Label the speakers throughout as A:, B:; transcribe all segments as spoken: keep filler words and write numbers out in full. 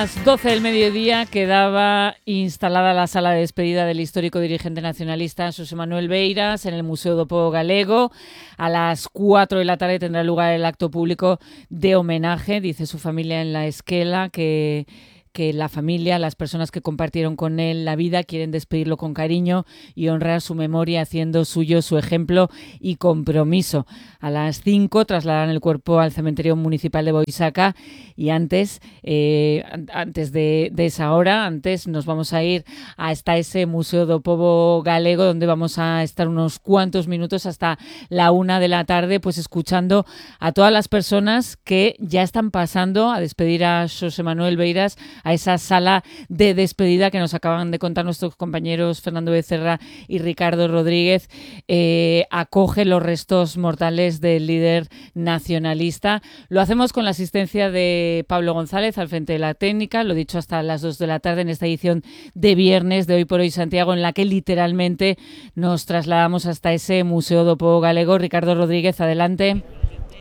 A: A las doce del mediodía quedaba instalada la sala de despedida del histórico dirigente nacionalista Xosé Manuel Beiras en el Museo do Pobo Galego. A las cuatro de la tarde tendrá lugar el acto público de homenaje. Dice su familia en la esquela que... que la familia, las personas que compartieron con él la vida, quieren despedirlo con cariño y honrar su memoria haciendo suyo su ejemplo y compromiso. A las cinco trasladarán el cuerpo al cementerio municipal de Boisaca y antes, eh, antes de, de esa hora, antes nos vamos a ir hasta ese Museo do Pobo Galego, donde vamos a estar unos cuantos minutos hasta la una de la tarde, pues escuchando a todas las personas que ya están pasando a despedir a Xosé Manuel Beiras, a esa sala de despedida que nos acaban de contar nuestros compañeros Fernando Becerra y Ricardo Rodríguez. Eh, acoge los restos mortales del líder nacionalista. Lo hacemos con la asistencia de Pablo González al frente de la técnica, lo dicho, hasta las dos de la tarde en esta edición de viernes de Hoy por Hoy Santiago, en la que literalmente nos trasladamos hasta ese Museo do Pobo Galego. Ricardo Rodríguez, adelante.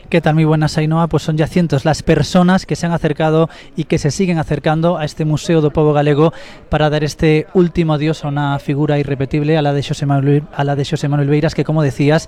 B: ¿Qué tal? Muy buenas, Ainhoa. Pues son ya cientos las personas que se han acercado y que se siguen acercando a este Museo do Pobo Galego para dar este último adiós a una figura irrepetible, a la de Xosé Manuel, a la de Xosé Manuel Beiras, que, como decías,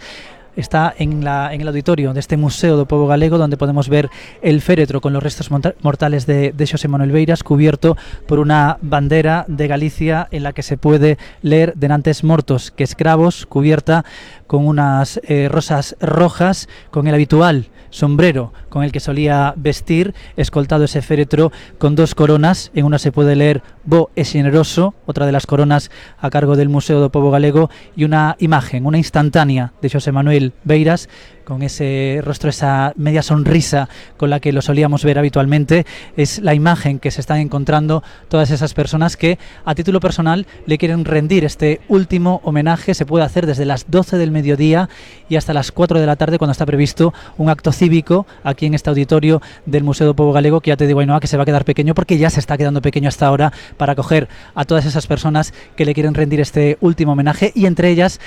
B: está en, la, en el auditorio de este Museo do Pobo Galego, donde podemos ver el féretro con los restos mortales de, de Xosé Manuel Beiras, cubierto por una bandera de Galicia en la que se puede leer "Denantes mortos que escravos", cubierta con unas eh, rosas rojas, con el habitual sombrero con el que solía vestir, escoltado ese féretro con dos coronas. En una se puede leer "Bo e Xeneroso", otra de las coronas a cargo del Museo do Pobo Galego, y una imagen, una instantánea de Xosé Manuel Beiras, con ese rostro, esa media sonrisa con la que lo solíamos ver habitualmente. Es la imagen que se están encontrando todas esas personas que, a título personal, le quieren rendir este último homenaje. Se puede hacer desde las doce del mediodía y hasta las cuatro de la tarde, cuando está previsto un acto cívico aquí en este auditorio del Museo do Pobo Galego, que ya te digo, Ainhoa, que se va a quedar pequeño, porque ya se está quedando pequeño hasta ahora, para acoger a todas esas personas que le quieren rendir este último homenaje. Y entre ellas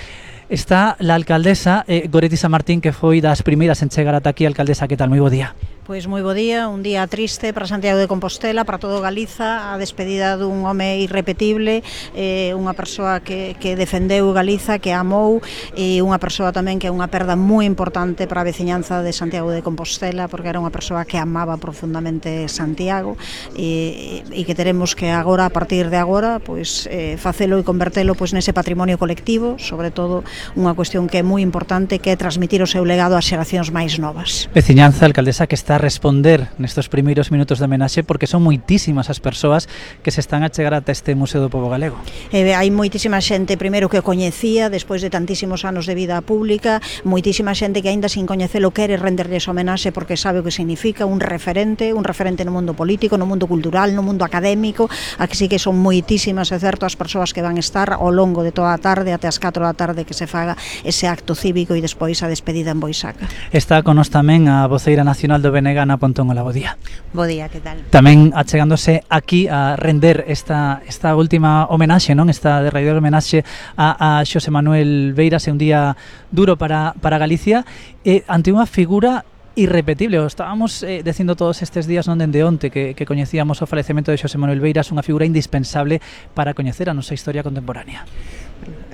B: está la alcaldesa eh, Goretti San Martín, que foi das primeiras en chegar ata aquí. Alcaldesa, que tal? Moi bo día.
C: Pois moi bo día, un día triste para Santiago de Compostela, para todo Galiza, a despedida dun home irrepetible, eh, unha persoa que, que defendeu Galiza, que amou, e unha persoa tamén que é unha perda moi importante para a veciñanza de Santiago de Compostela, porque era unha persoa que amaba profundamente Santiago, e, e que teremos que agora, a partir de agora, pois, eh, facelo e convertelo pois, nese patrimonio colectivo, sobre todo unha cuestión que é moi importante, que é transmitir o seu legado ás xeracións máis novas.
B: Veciñanza, alcaldesa, que está a responder nestes primeiros minutos de homenaxe, porque son moitísimas as persoas que se están a chegar ata este Museo do Pobo Galego.
C: Eh, hai moitísima xente, primeiro, que o coñecía despois de tantísimos anos de vida pública, moitísima xente que aínda sin coñecelo quere renderlles homenaxe porque sabe o que significa, un referente, un referente no mundo político, no mundo cultural, no mundo académico. Aquí sí que son moitísimas, é certo, as persoas que van estar ao longo de toda a tarde, até as catro da tarde, que se faga ese acto cívico e despois a despedida en Boisaca.
B: Está con nos tamén a voceira nacional do B N G, Ana Pontón. Hola, bo día.
D: Bo día, que tal?
B: Tamén achegándose aquí a render esta, esta última homenaxe, non? Esta derradeira homenaxe a, a Xosé Manuel Beiras. É un día duro para, para Galicia, eh, ante unha figura irrepetible. O estábamos eh, dicindo todos estes días, non dende onte, que, que coñecíamos o falecemento de Xosé Manuel Beiras, unha figura indispensable para coñecer a nosa historia contemporánea.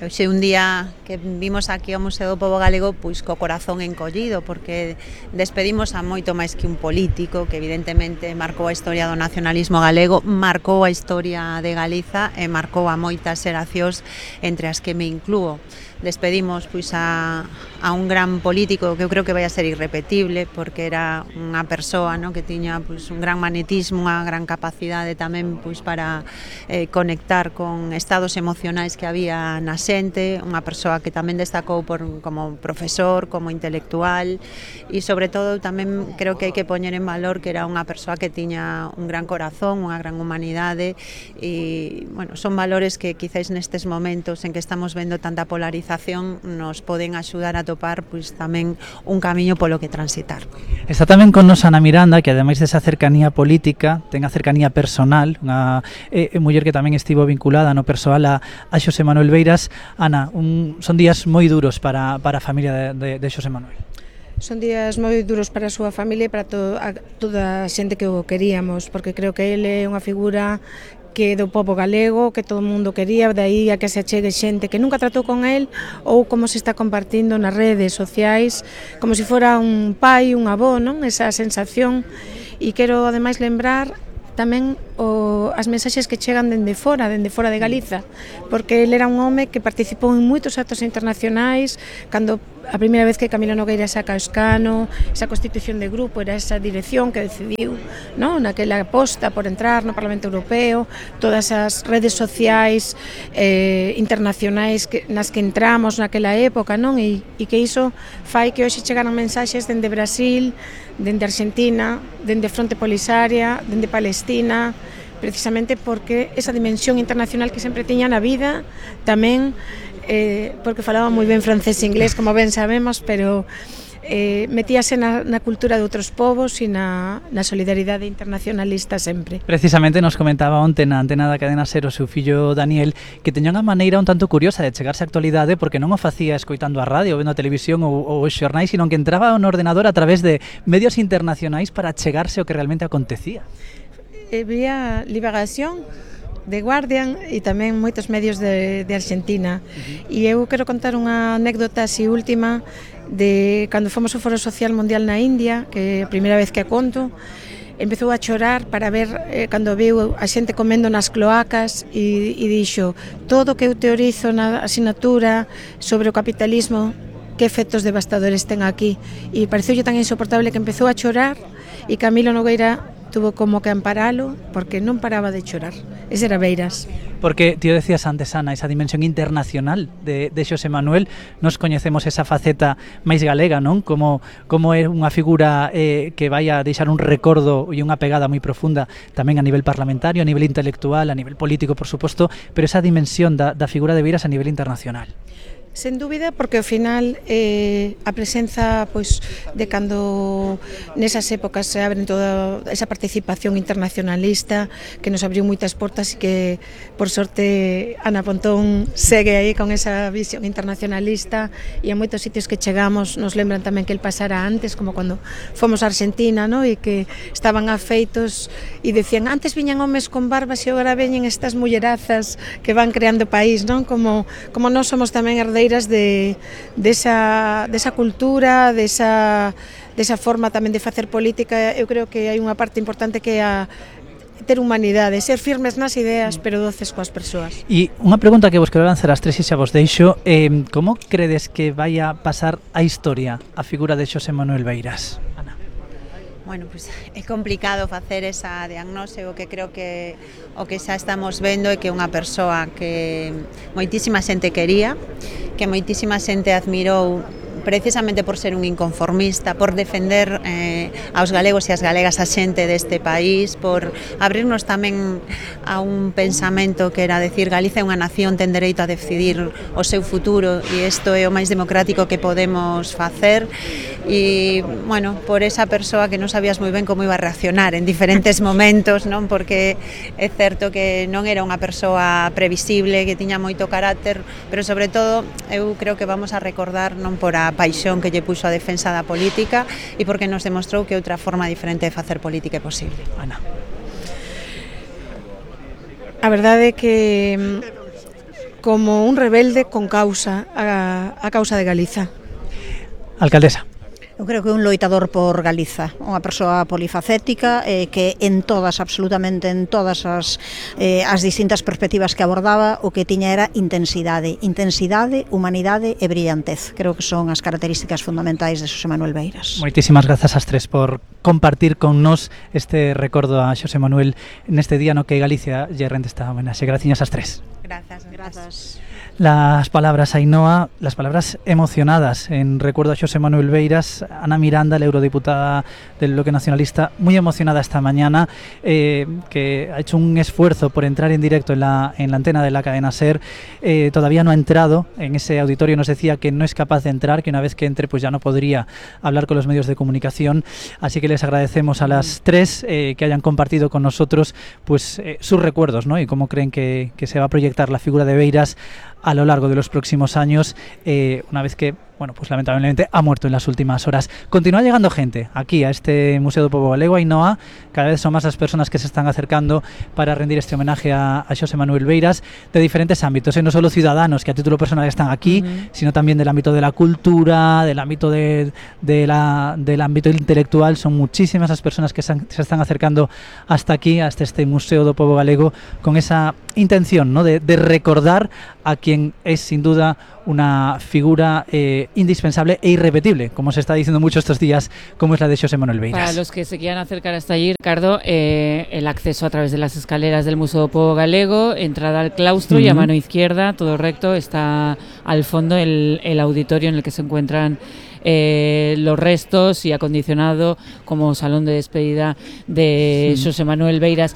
D: Hoxe un día que vimos aquí ao Museo do Pobo Galego pois co corazón encollido, porque despedimos a moito máis que un político que evidentemente marcou a historia do nacionalismo galego, marcou a historia de Galiza e marcou a moitas xeracións, entre as que me inclúo. Despedimos pois a, a un gran político que eu creo que vai a ser irrepetible, porque era unha persoa, no, que tiña pois un gran magnetismo, unha gran capacidade tamén pois para eh, conectar con estados emocionais que había na xente, unha persoa que tamén destacou por, como profesor, como intelectual, e sobre todo tamén creo que hai que poñer en valor que era unha persoa que tiña un gran corazón, unha gran humanidade, e bueno, son valores que quizáis nestes momentos en que estamos vendo tanta polarización nos poden axudar a topar pois tamén un camiño polo que transitar.
B: Está tamén con nos Ana Miranda, que ademais desa cercanía política, ten a cercanía personal, unha eh, muller que tamén estivo vinculada no persoal a, a Xosé Manuel Beiras. Ana, un, son días moi duros para, para a familia de, de, de Xosé Manuel.
E: Son días moi duros para a súa familia e para to, a, toda a xente que o queríamos, porque creo que ele é unha figura que do pobo galego, que todo o mundo quería, de aí a que se achegue xente que nunca tratou con el, ou como se está compartindo nas redes sociais, como se fora un pai, un avó, non? Esa sensación. E quero ademais lembrar tamén o, as mensaxes que chegan dende fora, dende fora de Galiza, porque ele era un home que participou en moitos actos internacionais, cando a primeira vez que Camilo Nogueira saca o escano, esa constitución de grupo, era esa dirección que decidiu, no, naquela aposta por entrar no Parlamento Europeo, todas as redes sociais eh, internacionais que, nas que entramos naquela época, non? E, e que iso fai que hoxe chegaran mensaxes dende Brasil, dende Argentina, dende Fronte Polisaria, dende Palestina, precisamente porque esa dimensión internacional que sempre tiña na vida, tamén eh, porque falaba moi ben francés e inglés, como ben sabemos, pero eh, metíase na, na cultura de outros povos e na, na solidaridade internacionalista sempre.
B: Precisamente nos comentaba onte na antena da cadena SER o seu fillo Daniel que teña unha maneira un tanto curiosa de chegarse á actualidade, porque non o facía escoitando a radio, vendo a televisión ou, ou os xornais, sino que entraba no ordenador a través de medios internacionais para chegarse ao que realmente acontecía.
E: Eh, vía Liberación, de Guardian e tamén moitos medios de, de Argentina. Uh-huh. E eu quero contar unha anécdota así última de cando fomos ao Foro Social Mundial na India, que é a primeira vez que a conto. Empezou a chorar para ver eh, cando viu a xente comendo nas cloacas e, e dixo: todo o que eu teorizo na asignatura sobre o capitalismo, que efectos devastadores ten aquí. E pareceulle tan insoportable que empezou a chorar e Camilo Nogueira tuvo como que amparalo porque non paraba de chorar. Ese era Beiras.
B: Porque, tío, decías antes, Ana, esa dimensión internacional de, de Xosé Manuel, nos coñecemos esa faceta máis galega, non? Como, como é unha figura eh, que vai a deixar un recordo e unha pegada moi profunda tamén a nivel parlamentario, a nivel intelectual, a nivel político, por suposto, pero esa dimensión da, da figura de Beiras a nivel internacional.
E: Sen dúbida, porque ao final eh, a presenza pois, de cando nesas épocas se abren toda esa participación internacionalista que nos abriu moitas portas e que por sorte Ana Pontón segue aí con esa visión internacionalista e a moitos sitios que chegamos nos lembran tamén que el pasara antes, como cando fomos a Argentina, no? E que estaban afeitos e decían antes viñan homes con barbas e agora veñen estas mullerazas que van creando país, non? Como, como nós somos tamén herdeiros de desa de esa cultura, desa desa forma tamén de facer política. Eu creo que hai unha parte importante que é a ter humanidade, ser firmes nas ideas, pero doces coas persoas.
B: E unha pregunta que vos quero lanzar as tres e xa vos deixo, eh, como credes que vai a pasar a historia a figura de Xosé Manuel Beiras? Ana.
D: Bueno, pues é complicado facer esa diagnose, o que creo que o que xa estamos vendo é que unha persoa que moitísima xente quería, que moitísima xente admirou precisamente por ser un inconformista, por defender eh, aos galegos e as galegas a xente deste país, por abrirnos tamén a un pensamento que era decir Galiza é unha nación, ten dereito a decidir o seu futuro e isto é o máis democrático que podemos facer. E, bueno, por esa persoa que non sabías moi ben como iba a reaccionar en diferentes momentos, non? Porque é certo que non era unha persoa previsible, que tiña moito carácter, pero sobre todo eu creo que vamos a recordar non por a paixón que lle puxo a defensa da política e porque nos demostrou que outra forma diferente de facer política é posible.
B: Ana.
E: A verdade é que como un rebelde con causa a, a causa de Galiza.
B: Alcaldesa.
C: Eu creo que é un loitador por Galiza, unha persoa polifacética eh, que en todas, absolutamente en todas as, eh, as distintas perspectivas que abordaba, o que tiña era intensidade, intensidade, humanidade e brillantez. Creo que son as características fundamentais de Xosé Manuel Beiras.
B: Moitísimas grazas ás tres por compartir con nós este recordo a Xosé Manuel neste día no que Galicia lle rende esta homenaxe. Graciñas ás tres.
D: Grazas, grazas.
B: Las palabras, Ainhoa, las palabras emocionadas en recuerdo a Xosé Manuel Beiras. Ana Miranda, la eurodiputada del Bloque Nacionalista, muy emocionada esta mañana, eh, que ha hecho un esfuerzo por entrar en directo en la, en la antena de la cadena SER. Eh, todavía no ha entrado en ese auditorio, nos decía que no es capaz de entrar, que una vez que entre pues ya no podría hablar con los medios de comunicación. Así que les agradecemos a las tres eh, que hayan compartido con nosotros pues eh, sus recuerdos, ¿no? Y cómo creen que, que se va a proyectar la figura de Beiras a lo largo de los próximos años, eh, una vez que bueno, pues lamentablemente ha muerto en las últimas horas. Continúa llegando gente aquí a este Museo do Pobo Galego, Ainhoa. Cada vez son más las personas que se están acercando para rendir este homenaje a, a Xosé Manuel Beiras, de diferentes ámbitos, ¿eh? No solo ciudadanos que a título personal están aquí, uh-huh. sino también del ámbito de la cultura, del ámbito de, de la, del ámbito intelectual. Son muchísimas las personas que se, han, se están acercando hasta aquí, hasta este Museo do Pobo Galego, con esa intención, ¿no?, de, de recordar a quien es sin duda una figura eh, indispensable e irrepetible, como se está diciendo mucho estos días, como es la de Xosé Manuel Beiras.
A: Para los que se quieran acercar hasta allí, Ricardo, eh, el acceso a través de las escaleras del Museo do Pobo Galego, entrada al claustro uh-huh. y a mano izquierda, todo recto, está al fondo el, el auditorio en el que se encuentran Eh, los restos y acondicionado como salón de despedida de sí. Xosé Manuel Beiras.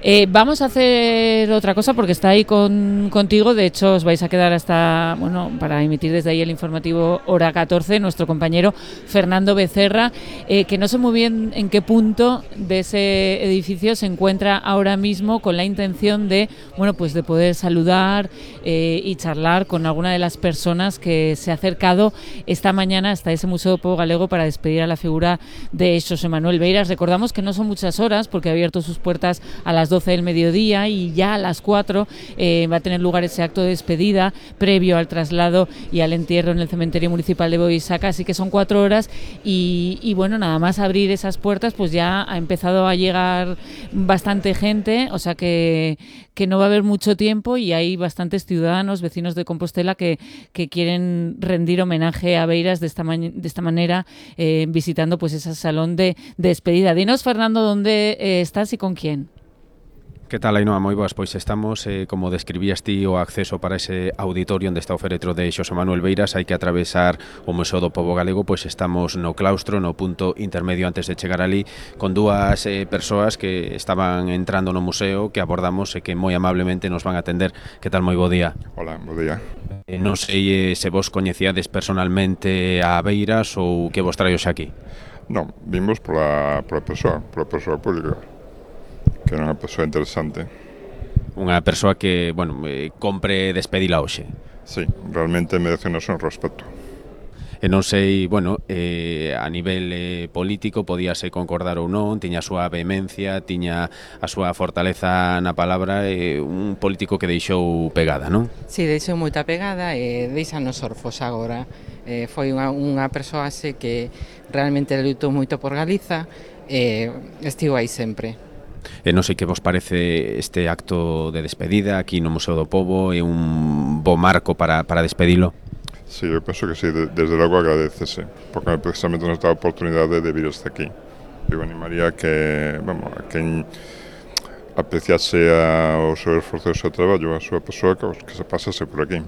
A: Eh, vamos a hacer otra cosa porque está ahí con, contigo, de hecho os vais a quedar hasta, bueno, para emitir desde ahí el informativo hora catorce, nuestro compañero Fernando Becerra, eh, que no sé muy bien en qué punto de ese edificio se encuentra ahora mismo, con la intención de, bueno, pues de poder saludar eh, y charlar con alguna de las personas que se ha acercado esta mañana hasta ese Museo do Pobo Galego para despedir a la figura de Xosé Manuel Beiras. Recordamos que no son muchas horas porque ha abierto sus puertas a las doce del mediodía y ya a las cuatro eh, va a tener lugar ese acto de despedida previo al traslado y al entierro en el cementerio municipal de Boisaca, así que son cuatro horas y, y bueno, nada más abrir esas puertas pues ya ha empezado a llegar bastante gente, o sea que, que no va a haber mucho tiempo y hay bastantes ciudadanos, vecinos de Compostela que, que quieren rendir homenaje a Beiras de esta, ma- de esta manera eh, visitando pues ese salón de, de despedida. Dinos, Fernando, ¿dónde eh, estás y con quién?
F: Que tal, Ainhoa? Moi boas, pois estamos, eh, como describías ti, o acceso para ese auditorio onde está o féretro de Xosé Manuel Beiras. Hai que atravesar o Museo do Pobo Galego, pois estamos no claustro, no punto intermedio antes de chegar ali, con dúas eh, persoas que estaban entrando no museo, que abordamos e que moi amablemente nos van a atender. Que tal, moi bo día?
G: Hola, bo día.
F: Eh, non sei eh, se vos coñecíades personalmente a Beiras ou que vos traio xa aquí.
G: Non, vimos pola, pola persoa, pola persoa pública, que era unha persoa interesante.
F: Unha persoa que, bueno, eh, compre despedila hoxe.
G: Sí, realmente merece un respeto.
F: E non sei, bueno, eh, a nivel eh, político podíase concordar ou non, tiña a súa vehemencia, tiña a súa fortaleza na palabra, eh, un político que deixou pegada, non?
H: Si, sí, deixou moita pegada e deixanos orfos agora. Eh, foi unha, unha persoa así que realmente lutou moito por Galiza e eh, estivo aí sempre.
F: E non sei que vos parece este acto de despedida aquí no Museo do Pobo, é un bo marco para, para despedilo?
G: Sí, eu penso que sí, de, desde logo agradecese, porque precisamente nos dá a oportunidade de vir hasta aquí. Eu animaría que, vamos, a quen apreciase a, o seu esforzo e o seu traballo, a súa persoa, que, que se pasase por aquí.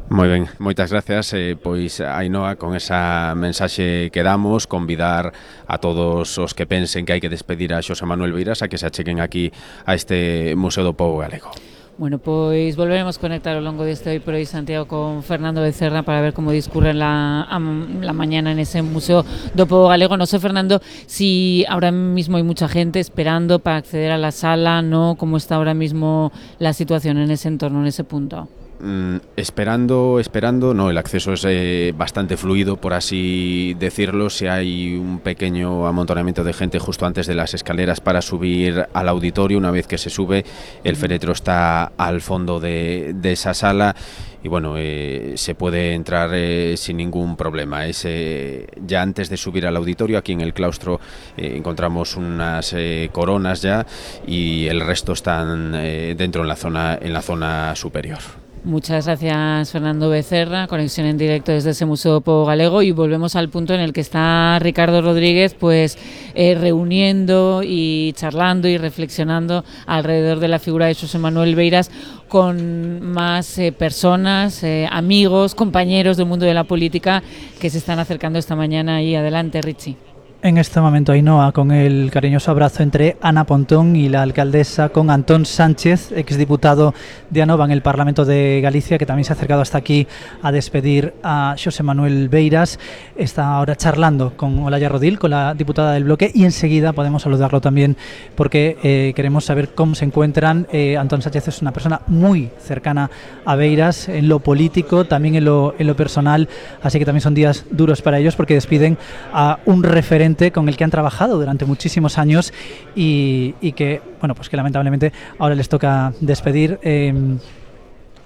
F: Moi ben, moitas gracias, eh, pois Ainhoa, con esa mensaxe que damos, convidar a todos os que pensen que hai que despedir a Xosé Manuel Beiras a que se acheguen aquí a este Museo do Pobo Galego.
A: Bueno, pois volveremos conectar ao longo deste Hoy por Hoy Santiago con Fernando Becerra para ver como discurre la, la mañana en ese Museo do Pobo Galego. No sé, Fernando, si ahora mismo hay mucha gente esperando para acceder a la sala, ¿no? ¿Cómo está ahora mismo la situación en ese entorno, en ese punto?
F: Mm, esperando, esperando, no, el acceso es eh, bastante fluido, por así decirlo. Si hay un pequeño amontonamiento de gente justo antes de las escaleras para subir al auditorio, una vez que se sube, el féretro está al fondo de, de esa sala y bueno, eh, se puede entrar eh, sin ningún problema. Es, eh, ya antes de subir al auditorio, aquí en el claustro eh, encontramos unas eh, coronas ya y el resto están eh, dentro en la zona, en la zona superior.
A: Muchas gracias, Fernando Becerra. Conexión en directo desde ese Museo do Pobo Galego y volvemos al punto en el que está Ricardo Rodríguez pues eh, reuniendo y charlando y reflexionando alrededor de la figura de Xosé Manuel Beiras con más eh, personas, eh, amigos, compañeros del mundo de la política que se están acercando esta mañana. Y adelante, Richie.
B: En este momento, Ainhoa, con el cariñoso abrazo entre Ana Pontón y la alcaldesa, con Antón Sánchez, exdiputado de Anova en el Parlamento de Galicia, que también se ha acercado hasta aquí a despedir a Xosé Manuel Beiras. Está ahora charlando con Olaya Rodil, con la diputada del bloque, y enseguida podemos saludarlo también porque eh, queremos saber cómo se encuentran. Eh, Antón Sánchez es una persona muy cercana a Beiras en lo político, también en lo, en lo personal, así que también son días duros para ellos porque despiden a un referente con el que han trabajado durante muchísimos años y, y que, bueno, pues que lamentablemente ahora les toca despedir. Eh,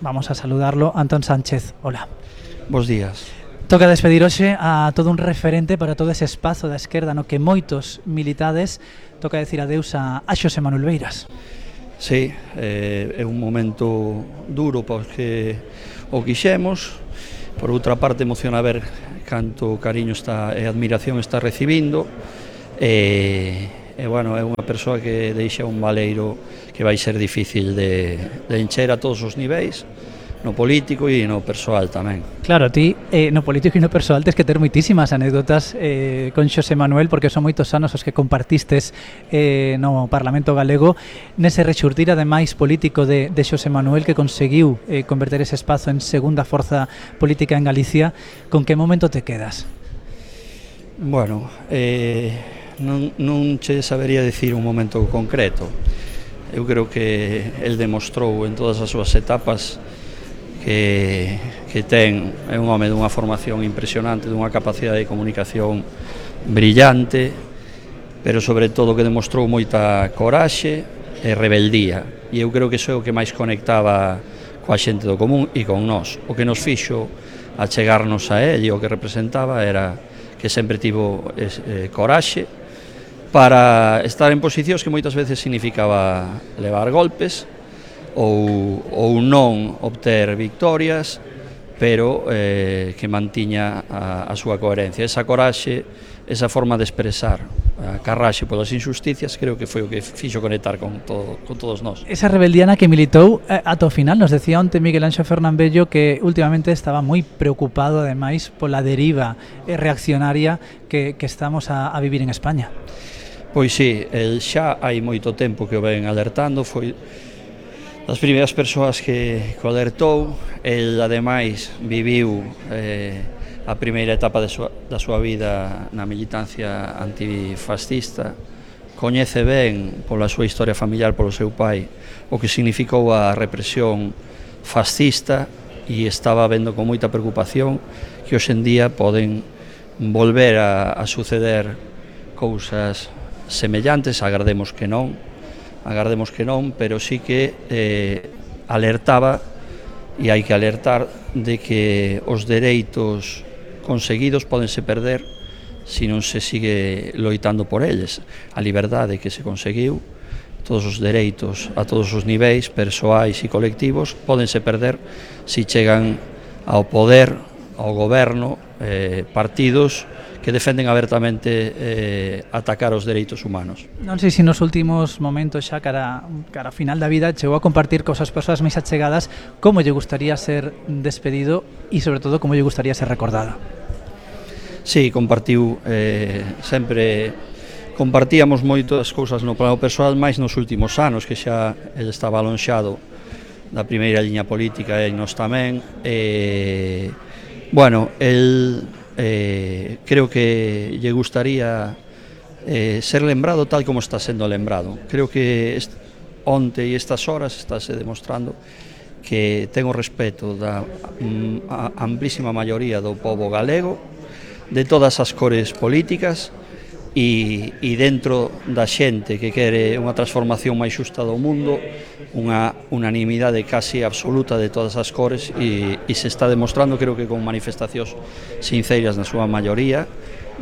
B: vamos a saludarlo. Antón Sánchez, hola.
I: Bos días.
B: Toca despedir hoxe a todo un referente para todo ese espazo da esquerda no que moitos militades. Toca decir adeus a, a Xosé Manuel Beiras.
I: Sí, eh, é un momento duro porque o quixemos. Por outra parte, emociona ver canto cariño está e admiración está recibindo e, e bueno, é unha persoa que deixa un valeiro que vai ser difícil de, de encher a todos os niveis, no político e no persoal tamén.
B: Claro, ti eh, no político e no persoal tes que ter moitísimas anécdotas eh, con Xosé Manuel, porque son moitos anos os que compartistes eh, no Parlamento Galego, nese rexurtir ademais político de, de Xosé Manuel, que conseguiu eh, converter ese espazo en segunda forza política en Galicia. Con que momento te quedas?
I: Bueno, eh, non, non che sabería dicir un momento concreto. Eu creo que el demostrou en todas as súas etapas que, que ten, é un home dunha formación impresionante, dunha capacidade de comunicación brillante, pero sobre todo que demostrou moita coraxe e rebeldía, e eu creo que iso é o que máis conectaba coa xente do común e con nós. O que nos fixo achegarnos a él e o que representaba era que sempre tivo eh, coraxe para estar en posicións que moitas veces significaba levar golpes ou, ou non obter victorias, pero eh, que mantiña a, a súa coherencia. Esa coraxe, esa forma de expresar a carraxe polas injusticias, creo que foi o que fixo conectar con, todo, con todos nós.
B: Esa rebeldiana que militou eh, ata o final. Nos decía onte Miguel Anxo Fernán Bello que últimamente estaba moi preocupado ademais pola deriva eh, reaccionaria que, que estamos a, a vivir en España.
I: Pois sí, el xa hai moito tempo que o ven alertando, foi das primeiras persoas que, que o alertou. El ademais viviu eh, a primeira etapa de súa, da súa vida na militancia antifascista, coñece ben pola súa historia familiar, polo seu pai, o que significou a represión fascista, e estaba vendo con moita preocupación que hoxendía poden volver a, a suceder cousas semellantes. Agardemos que non, agardemos que non, pero sí que eh, alertaba, e hai que alertar de que os dereitos conseguidos podense perder se non se sigue loitando por eles. A liberdade que se conseguiu, todos os dereitos a todos os niveis, persoais e colectivos, podense perder se chegan ao poder, ao goberno, eh, partidos que defenden abertamente eh, atacar os dereitos humanos.
B: Non sei se nos últimos momentos xa cara, cara final da vida chegou a compartir cosas persoas máis achegadas como lle gustaría ser despedido e sobre todo como lle gustaría ser recordado.
I: Sí, compartiu eh, sempre compartíamos moitas cousas no plano persoal, máis nos últimos anos que xa ele estaba alonxado da primeira liña política e nos tamén. eh, bueno, el Eh, creo que lle gustaría eh, ser lembrado tal como está sendo lembrado. Creo que est onte e estas horas estáse demostrando que ten o respeto da mm, a amplísima maioría do pobo galego, de todas as cores políticas, e, e dentro da xente que quere unha transformación máis xusta do mundo, unha unanimidade casi absoluta de todas as cores, e, e se está demostrando, creo que con manifestacións sinceras na súa maioría,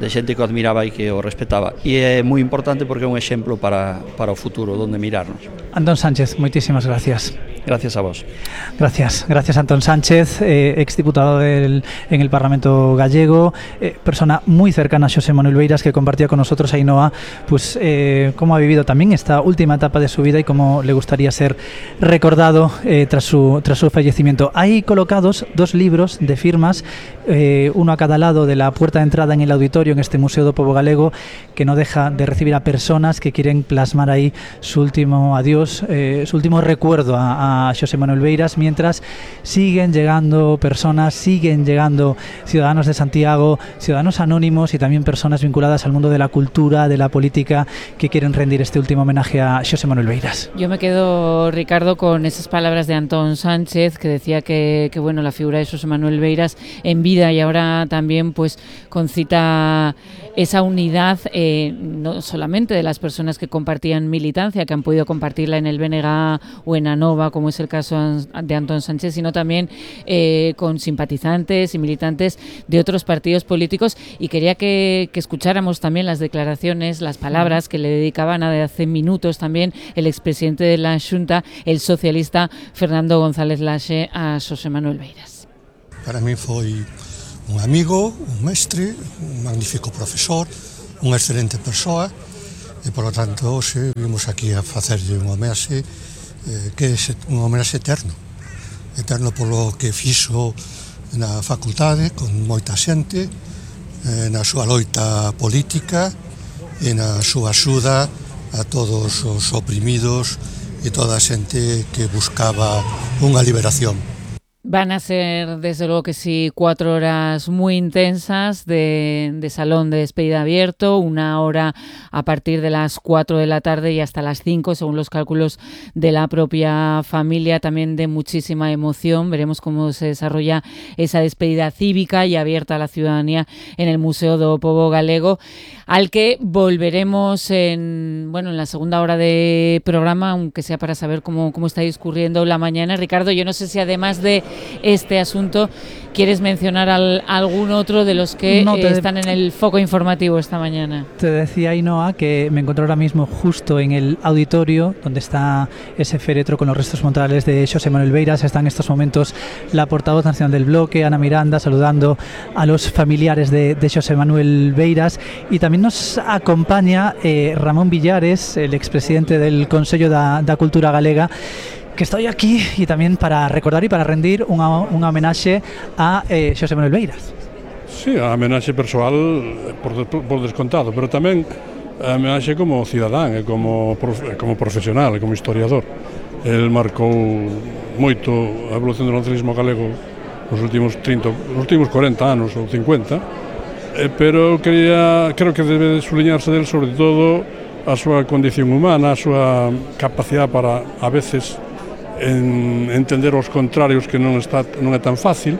I: de xente que o admiraba e que o respetaba, e é moi importante porque é un exemplo para, para o futuro, donde mirarnos.
B: Antón Sánchez, moitísimas gracias.
I: Gracias a vos.
B: Gracias, gracias Antón Sánchez, eh, exdiputado del, en el Parlamento gallego, eh, persona muy cercana a Xosé Manuel Beiras, que compartía con nosotros, Ainhoa, pues eh, cómo ha vivido también esta última etapa de su vida y cómo le gustaría ser recordado eh, tras, su, tras su fallecimiento. Hay colocados dos libros de firmas eh, uno a cada lado de la puerta de entrada en el auditorio en este Museo do Pobo Galego, que no deja de recibir a personas que quieren plasmar ahí su último adiós, eh, su último recuerdo a, a Xosé Manuel Beiras, mientras siguen llegando personas, siguen llegando ciudadanos de Santiago, ciudadanos anónimos y también personas vinculadas al mundo de la cultura, de la política, que quieren rendir este último homenaje a Xosé Manuel Beiras.
A: Yo me quedo, Ricardo, con esas palabras de Antón Sánchez, que decía que, que bueno, la figura de Xosé Manuel Beiras en vida y ahora también pues concita esa unidad, eh, no solamente de las personas que compartían militancia, que han podido compartirla en el B N G o en ANOVA, como es el caso de Antón Sánchez, sino también eh, con simpatizantes y militantes de otros partidos políticos. Y quería que, que escucháramos también las declaraciones, las palabras que le dedicaban hace minutos también el expresidente de la Xunta, el socialista Fernando González Laxe, a Xosé Manuel Beiras.
J: Para mí foi un amigo, un mestre, un magnífico profesor, unha excelente persoa, e, por lo tanto, hoxe vimos aquí a facerlle un homenaxe eh, que é un homenaxe eterno. Eterno polo que fixo na facultade, con moita xente, eh, na súa loita política e na súa axuda a todos os oprimidos e toda a xente que buscaba unha liberación.
A: Van a ser, desde luego que sí, cuatro horas muy intensas de, de salón de despedida abierto, una hora a partir de las cuatro de la tarde y hasta las cinco, según los cálculos de la propia familia, también de muchísima emoción. Veremos cómo se desarrolla esa despedida cívica y abierta a la ciudadanía en el Museo do Pobo Galego, al que volveremos en, bueno, en la segunda hora de programa, aunque sea para saber cómo, cómo está discurriendo la mañana. Ricardo, yo no sé si además de este asunto ¿quieres mencionar al, algún otro de los que no te, eh, están en el foco informativo esta mañana?
B: Te decía, Ainhoa, que me encuentro ahora mismo justo en el auditorio donde está ese féretro con los restos mortales de Xosé Manuel Beiras. Está en estos momentos la portavoz nacional del bloque, Ana Miranda, saludando a los familiares de, de Xosé Manuel Beiras, y también nos acompaña eh, Ramón Villares, el expresidente del Consello da, da Cultura Galega, que estoy aquí y también para recordar y para rendir unha, unha homenaxe a eh, Xosé Manuel Beiras.
K: Sí, a homenaxe persoal por, por descontado, pero tamén a homenaxe como cidadán e como, como profesional e como historiador. El marcou moito a evolución do nacionalismo galego nos últimos trinta, nos últimos corenta anos ou cincuenta, eh, pero quería, creo que debe subliñarse del sobre todo a súa condición humana, a súa capacidade para a veces en entender os contrarios, que non está non é tan fácil,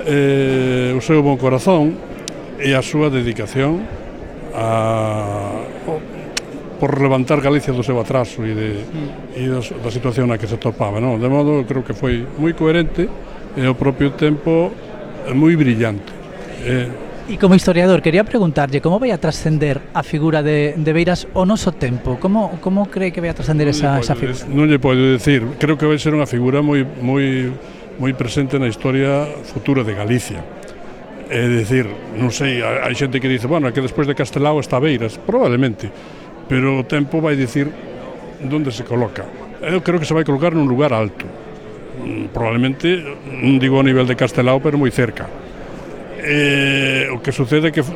K: eh, o seu bon corazón e a súa dedicación a, por levantar Galicia do seu atraso e, de, e da, da situación na que se topaba, non? De modo, creo que foi moi coherente e ao propio tempo moi brillante. Eh,
B: Y como historiador, quería preguntarlle como vai a trascender a figura de, de Beiras o noso tempo? Como, como cree que vai a trascender esa, esa figura?
K: Non lle podo decir, creo que vai ser unha figura moi, moi, moi presente na historia futura de Galicia. É dicir, non sei, hai xente que dice, bueno, que despois de Castelao está Beiras, probablemente, pero o tempo vai dicir onde se coloca. Eu creo que se vai colocar nun lugar alto, probablemente, non digo a nivel de Castelao, pero moi cerca. Eh, o que sucede é que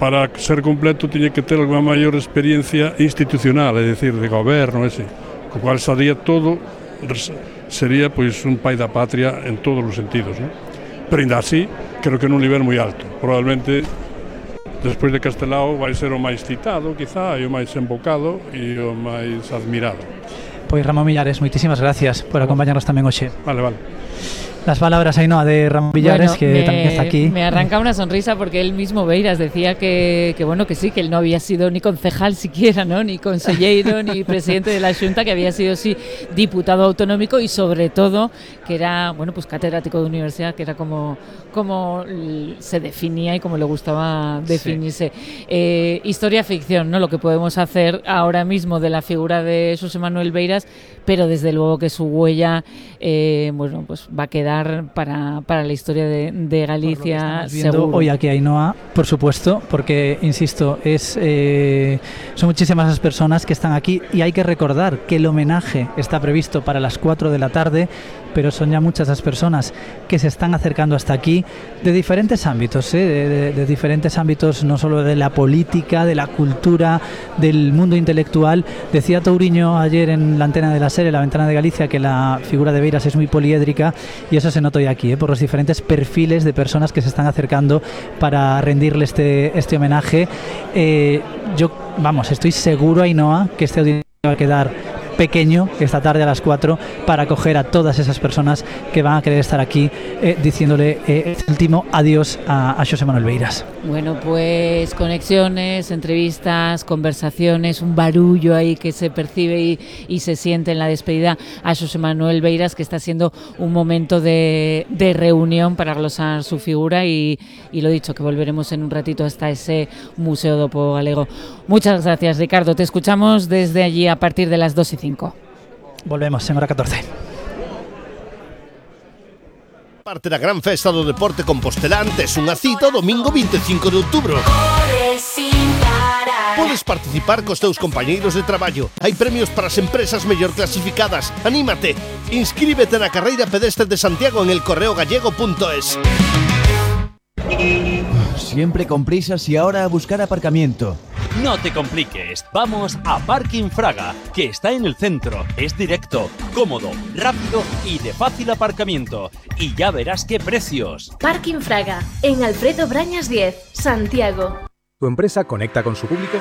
K: para ser completo tiña que ter alguna maior experiencia institucional, é dicir, de goberno, ese, co cual sería todo, sería pois un pai da patria en todos os sentidos, non? Pero ainda así, creo que nun nivel moi alto. Probablemente, despois de Castelao, vai ser o máis citado, quizá, e o máis embocado e o máis admirado.
B: Pois Ramón Villares, moitísimas gracias por acompañarnos tamén hoxe.
K: Vale, vale.
B: Las palabras, Ainhoa, de Ramón Villares, bueno, que
A: me,
B: también está aquí.
A: Me arranca una sonrisa porque él mismo, Beiras, decía que, que bueno, que sí, que él no había sido ni concejal siquiera, ¿no? Ni consellero, ni presidente de la Xunta, que había sido, sí, diputado autonómico y sobre todo que era, bueno, pues catedrático de universidad, que era como, como se definía y como le gustaba definirse. Sí. Eh, historia ficción, ¿no? Lo que podemos hacer ahora mismo de la figura de Xosé Manuel Beiras, pero desde luego que su huella, eh, bueno, pues va a quedar estelar para, para la historia de, de Galicia.
B: Viendo hoy aquí a Ainhoa, por supuesto, porque, insisto, es eh, son muchísimas las personas que están aquí y hay que recordar que el homenaje está previsto para las cuatro de la tarde, pero son ya muchas las personas que se están acercando hasta aquí de diferentes ámbitos, ¿eh? de, de, de diferentes ámbitos, no solo de la política, de la cultura, del mundo intelectual. Decía Touriño ayer en la antena de la serie, La Ventana de Galicia, que la figura de Beiras es muy poliédrica, y eso se nota hoy aquí, ¿eh? por los diferentes perfiles de personas que se están acercando para rendirle este, este homenaje. Eh, yo, vamos, estoy seguro, Ainhoa, que este auditorio va a quedar pequeño esta tarde a las cuatro para acoger a todas esas personas que van a querer estar aquí eh, diciéndole eh, este último adiós a, a Xosé Manuel Beiras.
A: Bueno, pues conexiones, entrevistas, conversaciones, un barullo ahí que se percibe y, y se siente en la despedida a Xosé Manuel Beiras, que está siendo un momento de, de reunión para glosar su figura y, y lo dicho, que volveremos en un ratito hasta ese Museo do Pobo Galego. Muchas gracias, Ricardo. Te escuchamos desde allí a partir de las dos y cinco.
B: Volvemos en hora catorce.
L: Parte da gran festa do deporte compostelán tes unha cita o domingo veinticinco de outubro. Podes participar cos teus compañeiros de traballo. Hai premios para as empresas mellor clasificadas. Anímate. Inscríbete na carreira pedestre de Santiago en el correo gallego punto es.
M: Siempre con prisas y ahora a buscar aparcamiento.
N: No te compliques, vamos a Parking Fraga, que está en el centro, es directo, cómodo, rápido y de fácil aparcamiento. Y ya verás qué precios.
O: Parking Fraga, en Alfredo Brañas diez, Santiago.
P: ¿Tu empresa conecta con su público?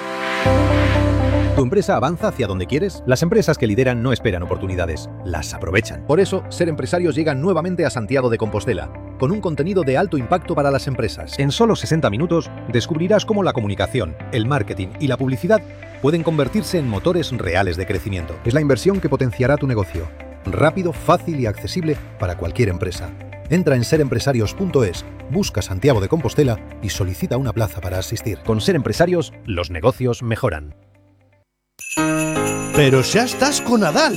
P: ¿Tu empresa avanza hacia donde quieres? Las empresas que lideran no esperan oportunidades, las aprovechan. Por eso, Ser Empresarios llega nuevamente a Santiago de Compostela, con un contenido de alto impacto para las empresas. En solo sesenta minutos, descubrirás cómo la comunicación, el marketing y la publicidad pueden convertirse en motores reales de crecimiento. Es la inversión que potenciará tu negocio. Rápido, fácil y accesible para cualquier empresa. Entra en ser empresarios punto es, busca Santiago de Compostela y solicita una plaza para asistir. Con Ser Empresarios, los negocios mejoran.
L: Pero xa estás con Nadal.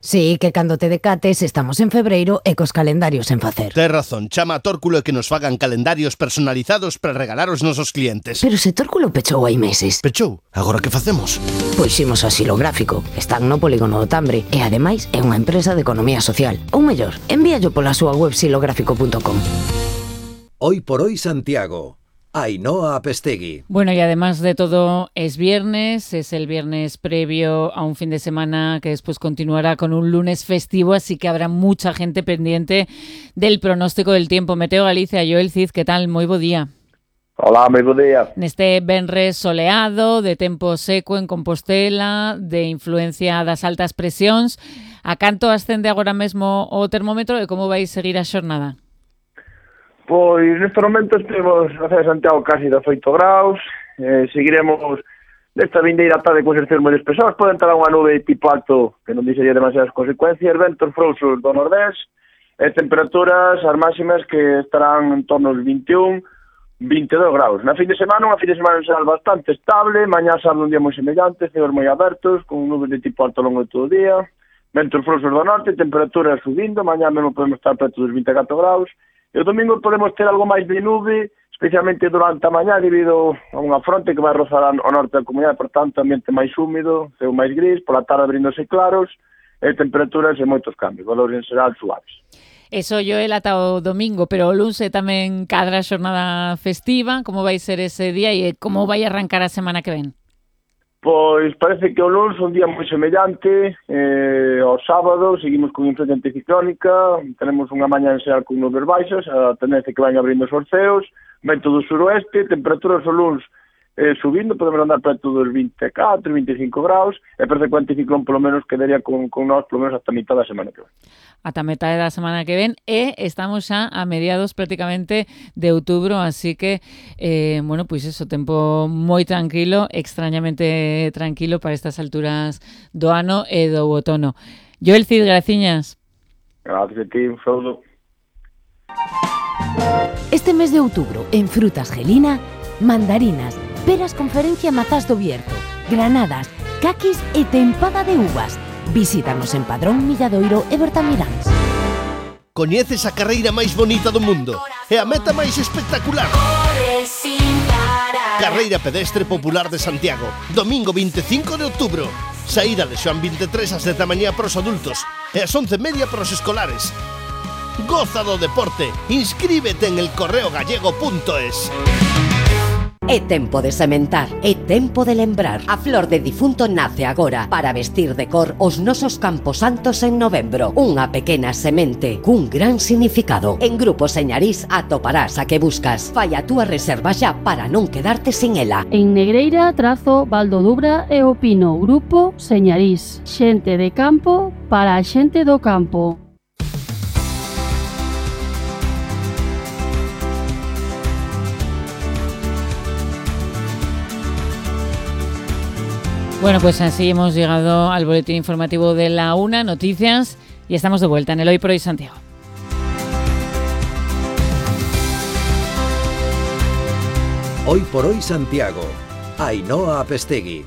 Q: Sí, que cando te decates estamos en febreiro e cos calendarios en facer.
L: Tes razón, chama a Tórculo e que nos fagan calendarios personalizados para regalar aos nosos clientes.
Q: Pero se Tórculo pechou hai meses.
L: Pechou? Agora que facemos?
Q: Pois ximos a Xilográfico. Están no Polígono do Tambre e ademais é unha empresa de economía social. Ou mellor, envíallo pola súa web xilográfico punto com.
R: Hoy por hoy Santiago. Ainhoa Apestegui.
A: Bueno, y además de todo es viernes, es el viernes previo a un fin de semana que después continuará con un lunes festivo, así que habrá mucha gente pendiente del pronóstico del tiempo. Meteo Galicia, Joel Cid, ¿qué tal? Moi bo día.
S: Hola, moi bo día.
A: Neste venres soleado, de tempo seco en Compostela, de influencia das altas presións, a canto ascende agora mesmo o termómetro e como vai seguir a xornada?
S: Pois neste momento estivemos na cidade de Santiago casi dezoito graus, eh, seguiremos nesta vindeira tarde con exercicios moi despesados, pode entrar unha nube tipo alto que non dixería demasiadas consecuencias, ventos frouxos do nordés, e temperaturas as máximas que estarán en torno aos vinte e un, vinte e dous graus. Na fin de semana, unha fin de semana será bastante estable, mañá sábado un día moi semellante, cielos moi abertos, con nubes de tipo alto ao longo de todo o día, ventos frouxos do norte, temperaturas subindo, mañá mesmo podemos estar preto dos vinte e catro graus, e o domingo podemos ter algo máis de nube, especialmente durante a mañá, debido a unha fronte que vai rozar ao norte da comunidade, por tanto, ambiente máis húmido, ceo máis gris, pola tarde abrindose claros, e temperaturas e moitos cambios, valores en xeral suaves.
A: Eso Joel ata o domingo, pero o luns tamén cadra a xornada festiva, como vai ser ese día e como vai arrancar a semana que ven?
S: Pois parece que o luns un día moi semellante, eh, ao sábado seguimos con influencia anticiclónica, tenemos unha mañá en xeral con nubes baixas, a tendencia que van abrindo os orceos, vento do suroeste, temperaturas o luns eh, subindo, podemos andar preto dos vinte e catro, vinte e cinco graus, e parece que o anticiclón polo menos quedaría con, con nós polo menos hasta a mitad da semana que ven.
A: Ata metade da semana que ven e estamos xa a mediados prácticamente de outubro, así que eh, bueno, pois pues eso, tempo moi tranquilo, extrañamente tranquilo para estas alturas do ano e do outono. Joel Cid, graciñas.
S: Gracias a ti, un saúdo.
Q: Este mes de outubro, en Frutas Gelina, mandarinas, peras conferencia mazás do Bierzo, granadas, caquis e tempada de uvas. Visítanos en Padrón, Milladoiro e Bertamiráns.
L: Coñeces a carreira máis bonita do mundo e a meta máis espectacular. Carreira pedestre popular de Santiago, domingo vinte e cinco de outubro. Saída de Xoán vinte e tres ás dez da mañá para os adultos e ás once e media para os escolares. Goza do deporte, inscríbete en el correo gallego punto es.
T: É tempo de sementar, é tempo de lembrar. A flor de difunto nace agora para vestir de cor os nosos camposantos en novembro. Unha pequena semente cun gran significado. En Grupo Señarís atoparás a que buscas. Fai a túa reserva xa para non quedarte sin ela.
U: En Negreira, Trazo, Valdodubra e O Pino. Grupo Señarís. Xente de campo para a xente do campo.
A: Bueno, pues así hemos llegado al boletín informativo de la una, noticias, y estamos de vuelta en el Hoy por Hoy Santiago.
R: Hoy por Hoy Santiago. Ainhoa Apestegui.